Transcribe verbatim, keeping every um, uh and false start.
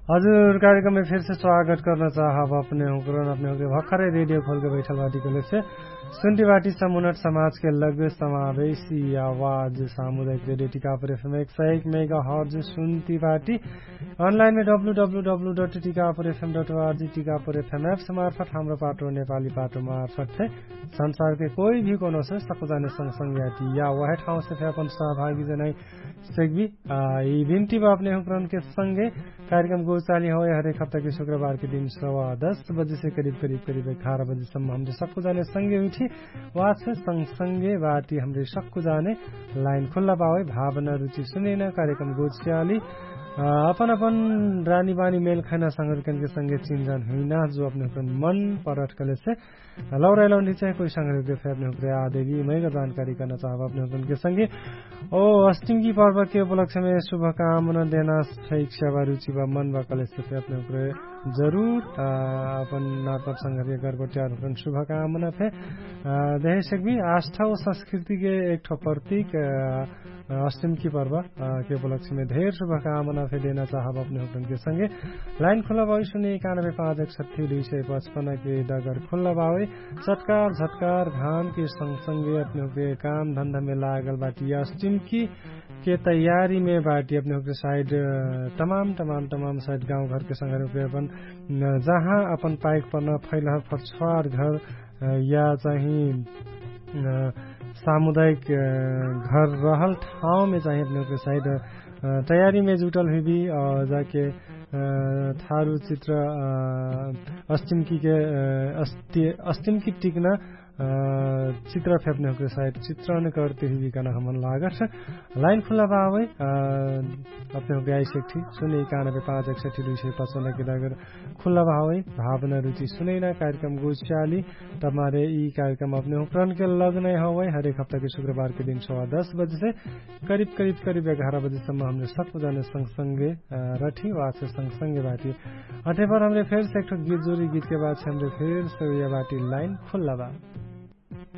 हजुर कार्यक्रममे फेरसे स्वागत कर्न चाहब अपने हुँकरन अपने हुँकरे भखरै रेडियो खोलके बैठल बाटी कहलेसे सुन्टी बाटी समुनट समाजके लग समावेशी आवाज सामुदायिक रेडियो टिकापुर एफएम एक सय एक मेगा हर्ज सुन्टी बाटी। अनलाइनमे W W W dot Tikapur FM dot ORG Tikapur FM apps मार्फत हाम्रो पाटो नेपाली पाटो मार्फत फे संसारके कोही भी कोनो से सकुजाने संगसंग याटी या वहे ठाउँसे फे अपन सहभागी जनाइ सेकबी। यि बिन्ती बा अपने हुँकरनके संगे कार्यक्रम गोचाली हवै हरेक हप्ताके शुक्रबारके दिन सवा दस बजेसे करिब करिब करिब एघार बजेसम्म हमरे सक्कु जाने संगे उठी। वासे संगसंगे बाटी हमरे सक्कु जाने लाइन खुल्ला बावै भावना रुचि सुनेन कार्यक्रम गोचाली अपन अपन रानी बानी मेल खैना संगरिकनके संगे चिन्जान हुइना जो अपने हुँकरन मन परट कलेसे लौराइ लौन्डी चाहे कोइ संगरिकके फे अपने हुँकरे आदेबी मैगा जानकारी कर्ना चाहब अपने हुँकरनके संगे। ओ अस्टिमकी पर्वके उपलक्ष्यमे शुभकामना देना सैक सेवा रुचि बा मन बा कलेसे फे अपने हुँकरे जरुर अपन नातब संगरिक गर्गोट्यार हुँकरन शुभकामना फे देहे सेकबी। आस्था ओ संस्कृतिके एकठो प्रतीक अस्टिमकी पर्वके उपलक्ष्यमे धेर शुभकामना फे देना चाहब अपने हुँकरनके संगे। लाइन खुल्ला बावै सुने एकानबे पाँच एक सट्ठी दुई सय पचपन्नके डगर खुल्ला बावै। चटकार झटकार घामके संगसंगे अपने हुँकरे काम धन्धामे लागल बाटी अस्टिमकीके तयारीमे बाटी अपने हुँकरे साइड तमाम तमाम तमाम साइड गाउँघरके संगरे हुँकरे अपन जहाँ अपन पाइक पर्न फैलहर फर्छवार घर या चाही सामुदायिक घर रहल ठाउँमे चाही अपने हुँकरे साइड तयारीमे जुटल हुइबी। जाके थारु चित्र अस्टिमकीके अस्टिमकी टिक्ना चित्र फे अपने हुँकरे साइड चित्र अने करते हुइबी कहना हमन लागत। लाइन खुल्ला बावै अपने हुँकरे आइसेक ठी सुने एकानबे पाँच एक सट्ठी दुई सय पचपन्नके डगर खुल्ला बावै भावना रुचि सुनैना कार्यक्रम गोचाली। तमारे यि कार्यक्रम अपने हुँकरनके लग नै हवै हरेक हप्ताके शुक्रबारके दिन सवा दस बजेसे करिब करिब करिब एघार बजेसम्म हमरे सक्कु जाने संगसंगे रठी वासे संगसंगे बाटी। अठेपर हमरे फेरसे एकठो गीत जोरी गीतके बादसे हमरे फेरसे उया बाटी लाइन खुल्ला बा।